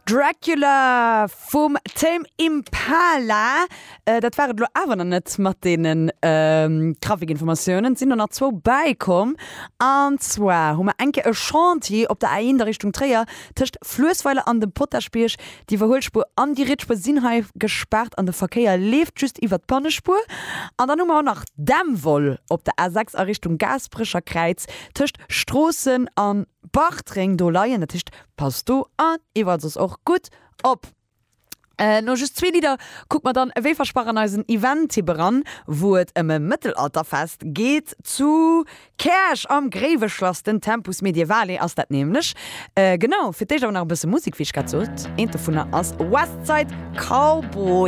Dracula vum Tame Impala. Dat war et elo awer nach net mat deenen Trafikinformatiounen. Et sinn der nach zwou bäikomm. An zwar hu mer eng Kéier e Chantier op der A1 a Richtung Tréier tëscht Fluessweiler an dem Potaschbierg. D'Iwwerhuelspuer an déi Rietsspuer sinn hei gespaart an de Verkéier leeft just iwwer d'Pannespuer. An dann hu mer och nach Dämmwoll op der A6 a Richtung Gaasperecher Kräiz tëscht Stroossen an Bartreng do leien. Dat heescht, passt do an iwwerall soss och gutt op. No just zwee Lidder kucke mer dann ewéi versprach an eisen Event-Tipp eran, wou et ëm e Mëttelalterfest geet zu Käerch am Gréiweschlass. Den Tempus Medievale ass dat nämlech. Genau, fir d'éischt awer nach e bësse Musek, wéi ech grad sot. Eent dovunner ass Westside Cowboy.